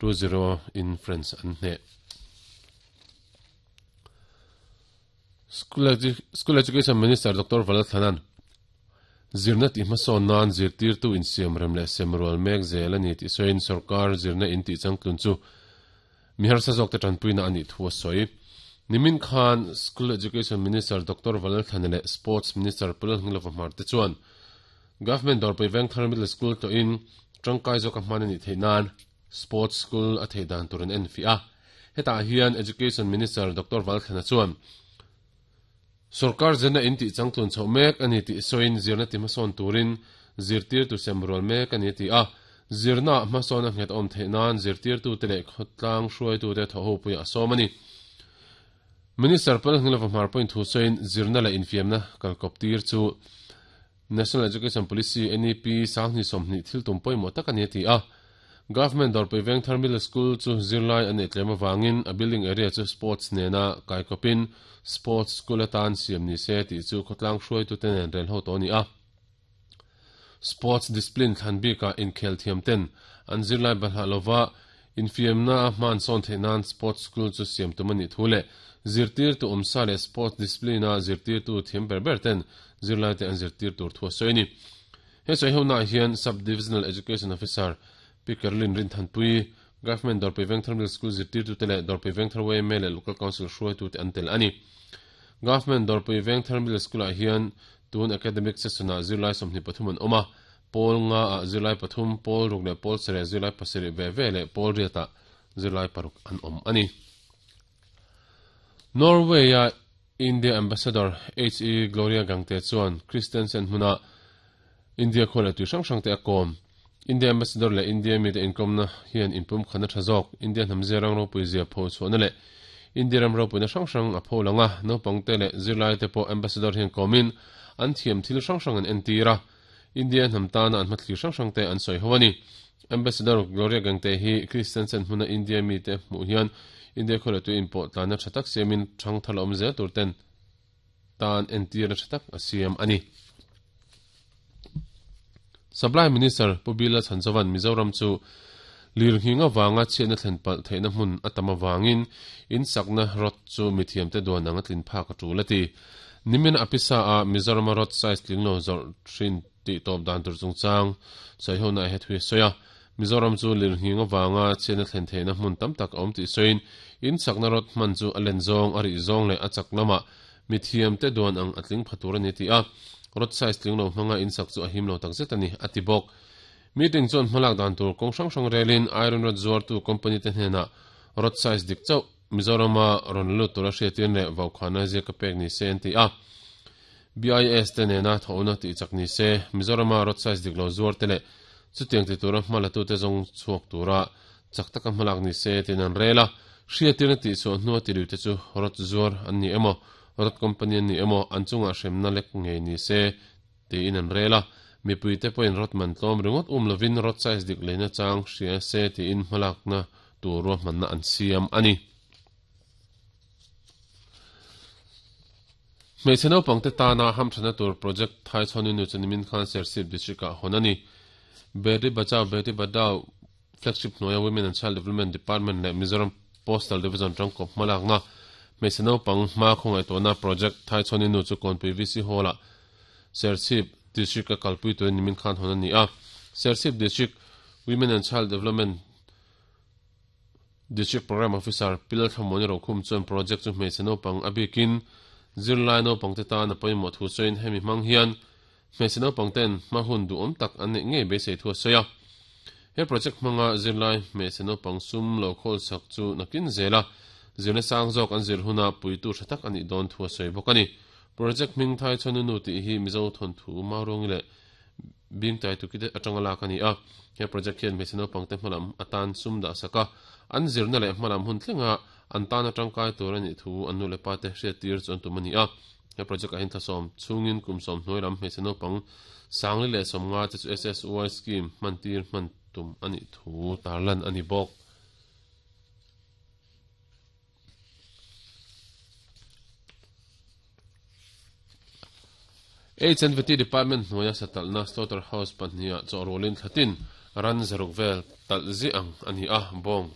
2-0 in France an hneh. School Education Minister Doctor Valalthlanan zirna tih hmasawn nan zirtirtu insiamrem leh semrual mek zel a ni tih sawiin sorkar zirna in tih changtlun chu mi harsa zawkte tanpuina a nih thu a sawi. Nimin khan School Education Minister Doctor Valalthlana leh Sports Minister Pu Lalhngilova Hmarte chuan Government Dawrpui Vengthar Middle School tawhin tangkai zawka hman a nih theih nan Sports School a theih dan tur an enfiah a. Hetah hian Education Minister Doctor Valthlana chuan sorkar zirna in tih changtlun chhoh mek a ni tih sawiin zirna ti hmasawn turin zirtirtu sem rual mek a ni a ti a. Zirnaah hmasawn a nghet awm theih nan zirtirtute leh khawtlang hruaitute thawhhopuiah a sawm a ni. Minister Palhnilova hmar pawhin thu sawiin zirna leh infiamna kalkawp tir chu National Education Policy, NEP, sanghnih 20 thil tum pawimawh tak a ni a ti a. Government Dawrpui Vengthar Middle School chu zirlai a neih tlem avangin a building area chu sports nena kaikawpin sports school atan siam ni se tih chu khawtlang hruaitute nen rel ho tawh a ni a. Sports discipline thlan bikah inkhel thiam ten an zirlai balhah lova infiamna a hman sawn theih nan sports school chu siam tum a nih thu leh zirtirtu awmsa leh sports discipline-a zirtirtu thiam ber ber ten zirlaite an zirtir tur thu a sawi a ni. He sawi honaah hian Sub-Divisional Education Officer Pi Caroline Rinthanpui, Government Dawrpui Vengthar Middle School zirtirtute leh Dawrpui Vengthar yma leh Local Council hruaitute an tel a ni. Government Dawrpui Vengthar Middle School-ah hian tun academic session-ah zirlai 23 an awm a, pawl nga ah zirlai pathum, pawl ruk leh pawl sarih zirlai pasarih ve ve leh pawl riat ah zirlai paruk an awm a ni. Norway-a India Ambassador HE Gloria Gangte chuan Kristiansen hmuna India khua leh tui hrang hrangte a kawm. India Ambassador leh India mite inkawmna hian inpumkhatna tha zawk, India hnam zirang ropui zia pho chhuahna leh India ram ropuina hrang hrang a pho lang a, naupangte leh zirlaite pawh Ambassador hian kawmin an thiam thil hrang hrang an entir a. India hnam tana an hmathlir hrang hrangte an sawi ho a ni. Ambassador Gloria Gangte hi Kristiansen hmuna India mite hmuh hian India khawleh tui inpawh tlanna tha tak siamin thang thar la awm zel tur ten tan entirna tha tak a siam a ni. Supply Minister Pu Bila Chhanchavan Mizoram chu lirnghing avanga chhiatna thlen palh theihna hmun a tam avangin in sakna rod chu mithiamte duan ang a tlin phak a tul a ti. Nimin a pisa a Mizorama rod size tling lo zawrh thin tih tawp dan tur chungchang sawihona a hethui a sawi a. Mizoram chu lirnghing avanga chhiatna thlen theihna hmun tam tak a awm tih sawiin in sakna rod hman chu a len zawng, a rih zawng leh a chak lamah mithiamte duan ang a tling pha tur a ni tih a, rod size tling lo hmanga in sak chu a him lo takzet a ni, a ti bawk. Meeting chuan hmalak dan tur kawng hrang hrang relin iron rod zuartu company te hnenah rod size dik chauh Mizorama rawn lut tura hriatin leh vaukhana ziak a pek ni se an ti a. BIS te nena thawhna tih chak ni se, Mizorama rod size dik lo zuar te leh chutiang ti tura hma latute zawng chhuak tura chak taka hmalak ni se tiin an rel a. Hriatirna tih chhuah hnua tiliu te chu rod zuar an ni emaw, rod company an ni emaw an chungah hremna lek ngei ni se tiin an rel a. Mipuite pawhin rod man tlawm ringawt um lovin rod size dik leina chang hria se tiin hmalakna tur ruahmanna an siam a ni. Hmeichhe naupangte tana hamthana tur project Thaichhawn Inu chu nimin khan Serchhip District-ah hawn a ni. Beti Bachao Beti Padhao flagship hnuaia Women and Child Development Department leh Mizoram Postal Division tangkawp hmalakna hmeichhe naupang hma khawngaihtuahna project Thaichhawn Inu chu Kawnpui VC Hall-ah Serchhip District-a kalpui turin nimin khan hawn a ni a. Serchhip District Women and Child Development District Programme Officer Pi Lalthlamuani Rokhum chuan project chu hmeichhe naupang a bikin zirlai naupangte tan a pawimawh thu sawiin hemi hmang hian hmeichhe naupangten hma hun duhawm tak an neih ngei beisei thu a sawi a. He project hmanga zirlai hmeichhe naupang sum lo khawl sak chu nakin zela zirna sang zawk an zir huna puitu tha tak a nih dawn thu a sawi bawk a ni. Project hming Thai Chhuanunu tih hi Mizo thawnthu Mauruangi leh Bing tai tuki te atanga lak a ni a, he project hian hmeichhe naupangte hmalam atan sum dah sak a, an zirna leh hmalam hun thlenga an tana tangkai tur a nih thu an nu leh pa te hriattir chu an tum a ni a. He project ah hian thlasawm chhungin kum sawm hnuai lam hmeichhe naupang sangli leh sawmnga te chu SSY scheme hmantir hman tum a nih thu tarlan a ni bawk. HNVT Department hnuaia satalhna Slaughter House pahniha chawhrualin thlatin Ran 600 vel talh ziah ang a ni a, bawng.